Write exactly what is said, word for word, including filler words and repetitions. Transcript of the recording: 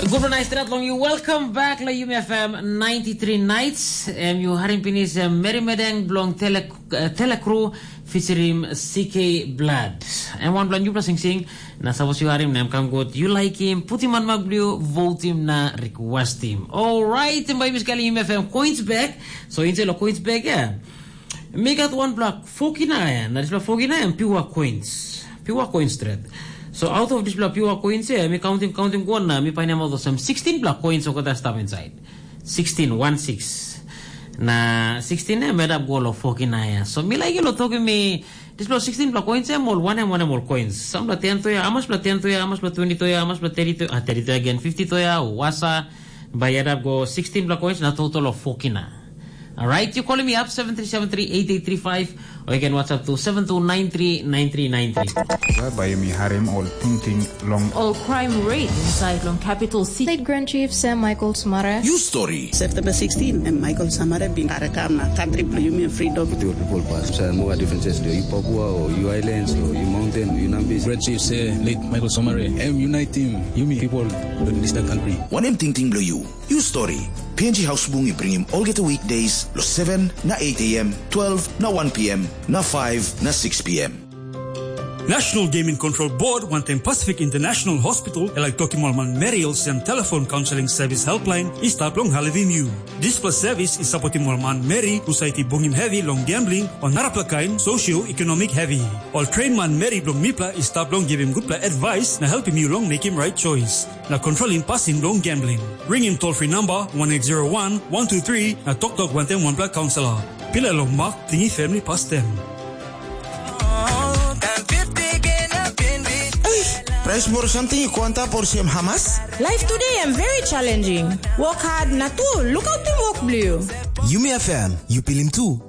Gupela nais stret long yu. Welcome back lo Yumi F M ninety-three Nights. Em yu harim pinis em Meri Medeng bilong Tele, eh, Telekru featuring C K Blood. Em wanpela nupela singsing, na sapos yu harim na em kam gut, yu laikim, putim manmak bilong yu, votim na requestim. Alright, em bai mi skelim Yumi F M coins back. So inside lo coins back, yeah. Mi gat wanpela fokina ya, na dispela fokina ya em pure coins. Pure coins stret. So out of dispela pure coins ya, mi counting, counting go na mi painim olsem sixteen pela coins olgeta stap inside. Sixteen, one six. Na sixteen ya em edap go lo fokina ya. So mi laik lo tokim mi, dispela sixteen pela coins ya, em ol wanem, wanem ol coins. Sampela ten toya, hamas pela ten toya, hamas pela twenty toya, hamas pela thirty toya, ah, thirty toya again, fifty toya, wasa, bai edap go sixteen pela coins na total of fokina. Alright, you calling me up seven three seven three eight eight three five, or you can WhatsApp to seven two nine three nine three nine three. Bai yumi harim ol tingting long ol crime rate inside long capital city. Late Grand Chief Sam Michael Sumare. You story. September sixteen, em Michael Sumare bin karakam na country bilong yumi freedom. With your people pass. Sa mo differences do you Papua or you islands or you mountain or you Nambis. Grand Chief say late Michael Sumare. Em unite him. Yumi people don't miss that country. Wanem tingting bilong you? You story. P N G Hausbung i bringim olgeta weekdays lo seven na eight a m, twelve na one p m, na five na six p m. National Gaming Control Board wantaim Pacific International Hospital e laik tokim ol manmeri olsem telefon counseling service helpline i stap long helpim yu. Dispela service i sapotim ol manmeri husat i bungim hevi long gambling o narapela kain socio-economic hevi. Ol train manmeri bilong mipela i stap long givim gutpela advice na helpim yu long mekim right choice. Na kontrolim pasin bilong gambling. Ringim toll free number one eight zero one one two three na toktok wantaim wanpela kaunselor. Pilai long mak, tingim family pastem. Price moro samting i go antap olsem hamas? Life today am very challenging. Work hard na tu, lukautim work bliu. Yumi F M, you pilim tu.